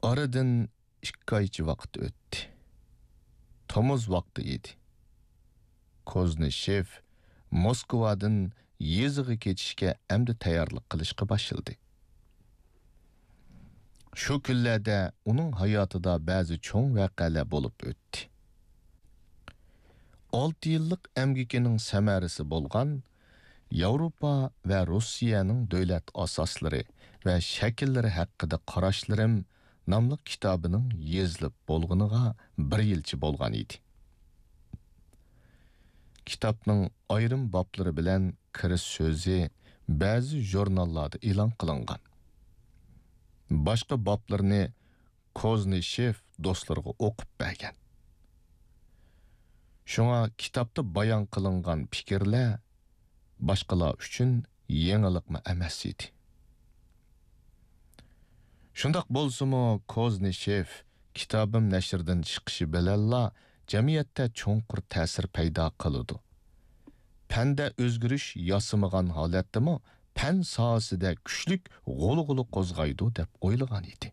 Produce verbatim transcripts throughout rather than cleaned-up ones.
ئارىدىن ئىككى ئايچە ۋاقىت ئۆتتى. تومۇز ۋاقتى ئىدى. كوزنىشېف موسكۋادىن يېزىغا كېتىشكە ئەمدى تەييارلىق قىلىشقا باشلىدى. شۇ كۈنلەردە ئۇنىڭ ھاياتىدا بەزى چوڭ ۋەقەلەر بولۇپ ئۆتتى. ئالتە يىللىق ئەمگىكىنىڭ سەمەرىسى بولغان ياۋروپا ۋە روسىيەنىڭ دۆلەت ئاساسلىرى ۋە شەكىللىرى ھەققىدە قاراشلىرىم ناملىق كىتابىنىڭ يېزىلىپ بولغىنىغا بىر يىلچە بولغان ئىدى. كىتابنىڭ ئايرىم باپلىرى بىلەن كىرىش سۆزى بەزى ژۇرناللاردا ئېلان قىلىنغان. باشقا باپلىرىنى كوزنىشېف دوستلىرىغا ئوقۇپ بەرگەن. شۇڭا كىتابتا بايان قىلىنغان پىكىرلەر باشقىلار ئۈچۈن يېڭىلىقمۇ ئەمەس ئىدى. شۇنداق بولسىمۇ، كوزنىشېف كىتابىم نەشردىن چىقىشى بىلەنلا جەمئىيەتتە چوڭقۇر تەسىر پەيدا قىلىدۇ. پەندە ئۆزگىرىش ياسىمىغان ھالەتتىمۇ پەن ساھەسىدە كۈچلۈك غۇلغۇلا قوزغايدۇ دەپ ئويلىغان ئىدى.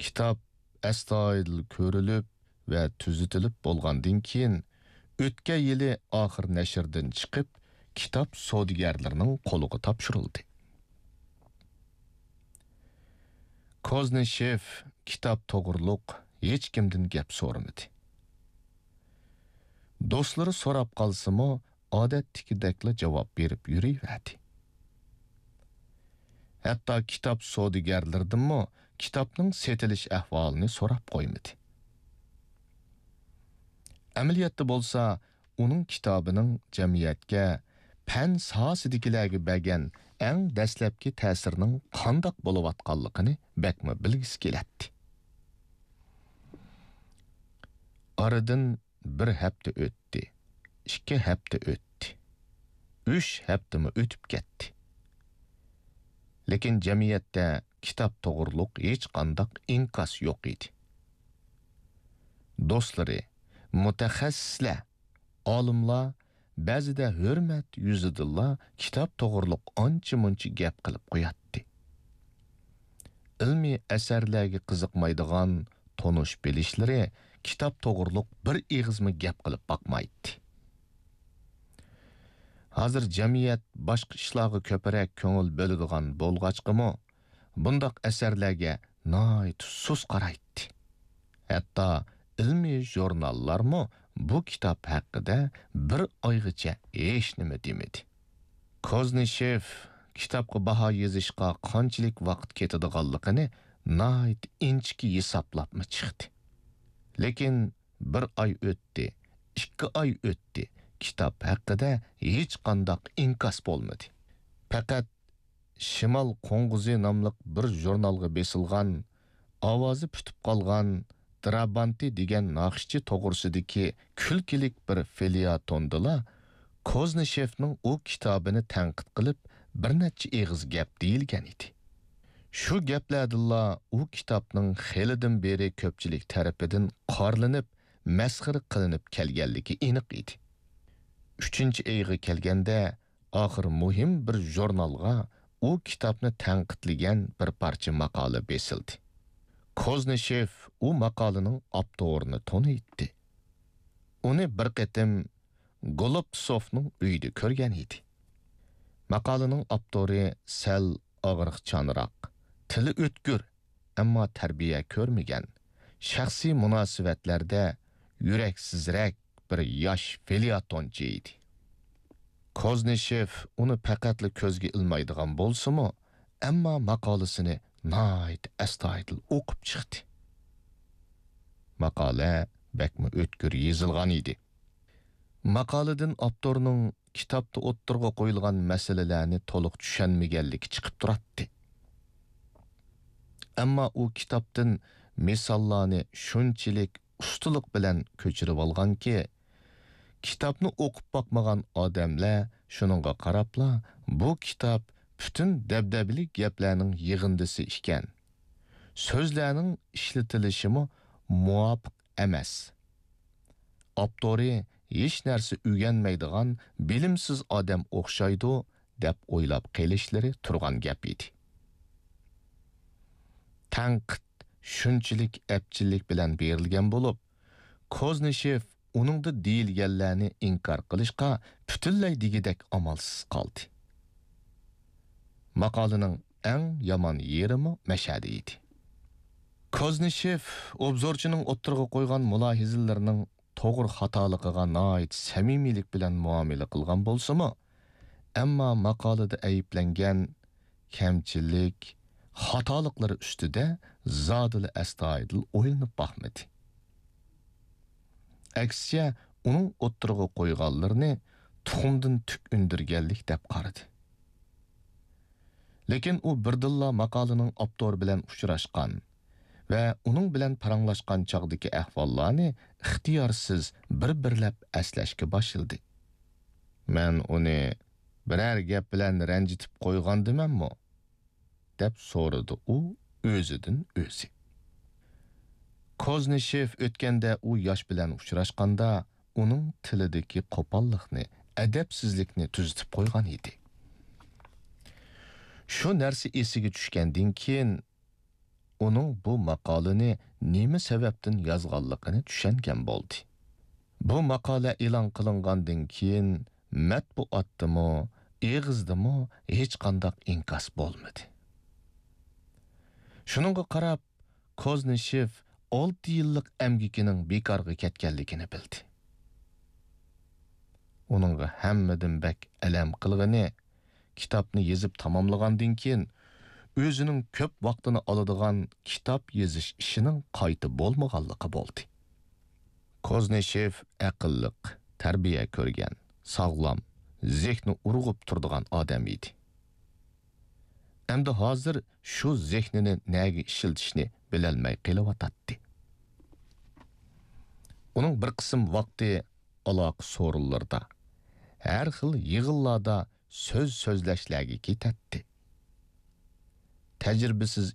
كىتاب ئەستايىدىل كۆرۈلۈپ ۋە تۈزىتىلىپ بولغاندىن كېيىن، ئۆتكەن يىلى ئاخىر نەشردىن چىقىپ، كىتاب سودىگەرلىرىنىڭ قولىغا تاپشۇرۇلدى. كوزنىشېف كىتاب توغرۇلۇق ھېچكىمدىن گەپ سورىمىدى. دوستلىرى سوراپ قالسىمۇ، ئادەتتىكىدەكلا جاۋاب بېرىپ يۈرۈۋەردى. ھەتتا كىتاب سودىگەرلىرىدىنمۇ كىتابنىڭ سېتىلىش ئەھۋالىنى سوراپ قويمىدى. ئەمەلىيەتتە بولسا، ئۇنىڭ كىتابىنىڭ جەمئىيەتكە، پەن ساھەسىدىكىلەرگە بەرگەن ئەڭ دەسلەپكى تەسىرىنىڭ قانداق بولۇۋاتقانلىقىنى بەكمۇ بىلگۈسى كېلەتتى. ئارىدىن بىر ھەپتە ئۆتتى، ئىككى ھەپتە ئۆتتى، ئۈچ ھەپتىمۇ ئۆتۈپ كەتتى. لېكىن جەمئىيەتتە كىتاب توغرۇلۇق ھېچقانداق ئىنكاس يوق ئىدى. دوستلىرى، مۇتەخەسسىسلەر، ئالىملار بەزىدە ھۆرمەت يۈزىدىنلا كىتاب توغرۇلۇق ئانچە-مۇنچە گەپ قىلىپ قوياتتى. ئىلمىي ئەسەرلەرگە قىزىقمايدىغان تونۇش-بىلىشلىرى كىتاب توغرۇلۇق بىر ئېغىزمۇ گەپ قىلىپ باقمايتتى. ھازىر جەمئىيەت باشقا ئىشلارغا كۆپرەك كۆڭۈل بۆلىدىغان بولغاچقىمۇ، بۇنداق ئەسەرلەرگە ناھايىتى سۇس قارايتتى. ھەتتا ئىلمىي ژۇرناللارمۇ بۇ كىتاب ھەققىدە بىر ئايغىچە ھېچنېمە دېمىدى. كوزنىشېف كىتابقا باھا يېزىشقا قانچىلىك ۋاقىت كېتىدىغانلىقىنى ناھايىتى ئىنچىكە ھېسابلاپمۇ چىقتى. لېكىن بىر ئاي ئۆتتى، ئىككى ئاي ئۆتتى، كىتاب ھەققىدە ھېچقانداق ئىنكاس بولمىدى. پەقەت شىمال قوڭغۇزى ناملىق بىر ژۇرنالغا بېسىلغان، ئاۋازى پۈتۈپ قالغان درابانتى دېگەن ناخشىچى توغرىسىدىكى كۈلكىلىك بىر فېليەتوندىلا كوزنىشېفنىڭ ئۇ كىتابىنى تەنقىد قىلىپ، بىر نەچچە ئېغىز گەپ دېيىلگەن ئىدى. شۇ گەپلەردىنلا ئۇ كىتابنىڭ خېلىدىن بېرى كۆپچىلىك تەرىپىدىن قارىلىنىپ، مەسخىرە قىلىنىپ كەلگەنلىكى ئېنىق ئىدى. ئۈچىنچى ئېغىر كەلگەندە، ئاخىر مۇھىم بىر ژۇرنالغا ئۇ كىتابنى تەنقىدلىگەن بىر پارچە ماقالە بېسىلدى. كوزنىشېف ئۇ ماقالىنىڭ ئاپتورىنى تونۇيتتى. ئۇنى بىر قېتىم گولوبسوفنىڭ ئۆيىدە كۆرگەن ئىدى. ماقالىنىڭ ئاپتورى سەل ئاغرىقچانراق، تىلى ئۆتكۈر، ئەمما تەربىيە كۆرمىگەن، شەخسىي مۇناسىۋەتلەردە يۈرەكسىزرەك بىر ياش فېليەتونچى ئىدى. كوزنىشېف ئۇنى پەقەتلا كۆزگە ئىلمايدىغان بولسىمۇ، ئەمما ماقالىسىنى ناھايىتى ئەستايىدىل ئوقۇپ چىقتى. ماقالە بەكمۇ ئۆتكۈر يېزىلغان ئىدى. ماقالىدىن ئاپتورنىڭ كىتابتا ئوتتۇرىغا قويۇلغان مەسىلىلەرنى تولۇق چۈشەنمىگەنلىكى چىقىپ تۇراتتى. ئەمما ئۇ كىتابتىن مىساللارنى شۇنچىلىك ئۇستىلىق بىلەن كۆچۈرۈۋالغانكى، كىتابنى ئوقۇپ باقمىغان ئادەملەر شۇنىڭغا قاراپلا، بۇ كىتاب پۈتۈن دەبدەبىلىك گەپلەرنىڭ يىغىندىسى ئىكەن، سۆزلەرنىڭ ئىشلىتىلىشىمۇ مۇۋاپىق ئەمەس، ئاپتورى ھېچ نەرسە ئۆگەنمەيدىغان بىلىمسىز ئادەم ئوخشايدۇ، دەپ ئويلاپ قېلىشلىرى تۇرغان گەپ ئىدى. تەنقىد شۇنچىلىك ئەپچىللىك بىلەن بېرىلگەن بولۇپ، كوزنىشېف ئۇنىڭدا دېيىلگەنلەرنى ئىنكار قىلىشقا پۈتۈنلەي دېگۈدەك ئامالسىز قالدى. ماقالىنىڭ ئەڭ يامان يېرىمۇ مەشەدە ئىدى. كوزنىشېف ئوبزورچىنىڭ ئوتتۇرىغا قويغان مۇلاھىزىلىرىنىڭ توغرا خاتالىقىغا ناھايىتى سەمىمىيلىك بىلەن مۇئامىلە قىلغان بولسىمۇ، ئەمما ماقالىدە ئەيىبلەنگەن كەمچىلىك، خاتالىقلىرى ئۈستىدە زادىلا ئەستايىدىل ئويلىنىپ باقمىدى. ئەكسىچە، ئۇنىڭ ئوتتۇرىغا قويغانلىرىنى تۇخۇمدىن تۈك ئۈندۈرگەنلىك دەپ قارىدى. لېكىن ئۇ بىردىنلا ماقالىنىڭ ئاپتورى بىلەن ئۇچراشقان ۋە ئۇنىڭ بىلەن پاراڭلاشقان چاغدىكى ئەھۋاللارنى ئىختىيارسىز بىر-بىرلەپ ئەسلەشكە باشلىدى. «مەن ئۇنى بىرەر گەپ بىلەن رەنجىتىپ قويغاندىمەنمۇ؟» دەپ سورىدى ئۇ ئۆزىدىن ئۆزى. كوزنىشېف ئۆتكەندە ئۇ ياش بىلەن ئۇچراشقاندا، ئۇنىڭ تىلىدىكى قوپاللىقنى، ئەدەپسىزلىكنى تۈزىتىپ قويغان ئىدى. شۇ نەرسە ئېسىگە چۈشكەندىن كېيىن، ئۇنىڭ بۇ ماقالىنى نېمە سەۋەبتىن يازغانلىقىنى چۈشەنگەن بولدى. بۇ ماقالە ئېلان قىلىنغاندىن كېيىن، مەتبۇئاتتىمۇ، ئېغىزدىمۇ ھېچقانداق ئىنكاس بولمىدى. شۇنىڭغا قاراپ، كوزنىشېف ئالتە يىللىق ئەمگىكىنىڭ بىكارغا كەتكەنلىكىنى بىلدى. ئۇنىڭغا ھەممىدىن بەك ئەلەم قىلغىنى، كىتابنى يېزىپ تاماملىغاندىن كېيىن، ئۆزىنىڭ كۆپ ۋاقتىنى ئالىدىغان كىتاب يېزىش ئىشىنىڭ قايتا بولمىغانلىقى بولدى. كوزنىشېف ئەقىللىق، تەربىيە كۆرگەن، ساغلام، زېھنى ئۇرغۇپ تۇرىدىغان ئادەم ئىدى. ئەمدى ھازىر شۇ زېھنىنى نەگە ئىشلىتىشنى بىلەلمەي قېلىۋاتاتتى. ئۇنىڭ بىر قىسىم ۋاقتى ئالاقە سورۇنلىرىدا، ھەر خىل يىغىنلاردا سۆز سۆزلەشلەرگە كېتەتتى. تەجرىبىسىز